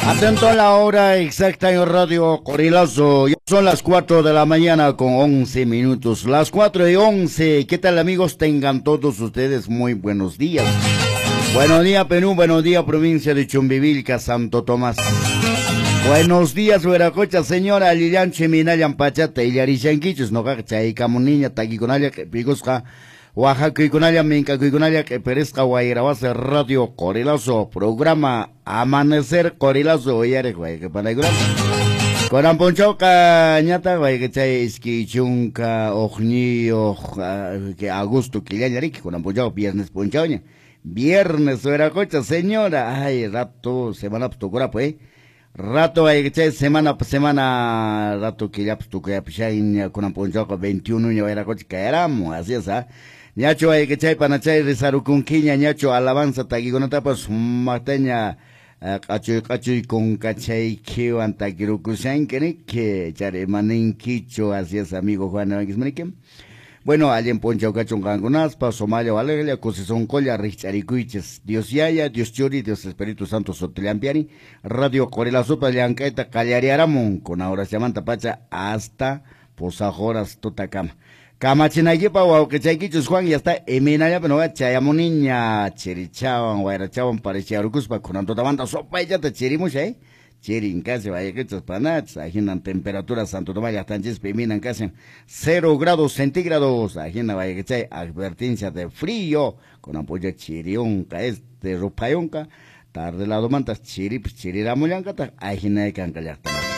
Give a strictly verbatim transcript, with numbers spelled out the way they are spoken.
Atento a la hora exacta en Radio Qorilazo. Ya son las cuatro de la mañana con once minutos. Las cuatro y once. ¿Qué tal, amigos? Tengan todos ustedes muy buenos días. Buenos días, Perú. Buenos días, provincia de Chumbivilca, Santo Tomás. Buenos días, Hueracocha, señora Lillanche, Minayan Pachata, Illarishanquichus, noqaqa chaykamuniña, takikunalla, q'ipiykusqa, Oaxaca, Minkakuykunalla, q'ipirisqa, Wayrawasi, Radio Qorilazo, programa Amanecer Qorilazo, uyariq wayqipanaykuna. Kunan p'unchawqa ñataq wayqichay iskay chunka hukniyuq que agosto killalla riki, kunan p'unchaw viernes p'unchawña. Viernes, Hueracocha, señora, ay, rato, semana tukurapu, eh. Rato wayqichay semana semana rato killapas tukuyapishayña kunan p'unchawqa veintiuno ña Hueracocha kayaramun, así es, ah. Ñachu wayqichay panachay rizarukunkiña ñachu alabanza takikunatapas sumaqtaña q'achuy q'achuy kunkachaykiwan takirukushanki riki chari imaninkichu, así es, amigo Juan Evanquismaniki. Bueno, allin p'unchaw kachun qankunaspa, sumalla waliglla, kusisonqolla rikch'arikuychis. Dios Yaya, Dios Churi, Dios Espíritu Santo sutillampiari, Radio Qorilazopa llank'ayta qallariaramun kuna horasllamanta pacha hasta pusaq horas tutakama. Kamachinaykipa wawqichaykichus Juan ya está imaynallapi noqa chayamuniña chirichawan wayrachawan parichiarukuspa kunan tutamanta sopayllata chirimusha, eh. Chirin casi wayqichas panachis, ajinan temperatura Santo Tomás llaqtanchispi imaynan kashan cero grados centígrados, ajina wayqichay advertencia de frío, kunan p'unchaw chiriyunqa este ruphayunqa, tarde ladomantas chiripas chiriramullankataq ajinay kanqa llaqtamas.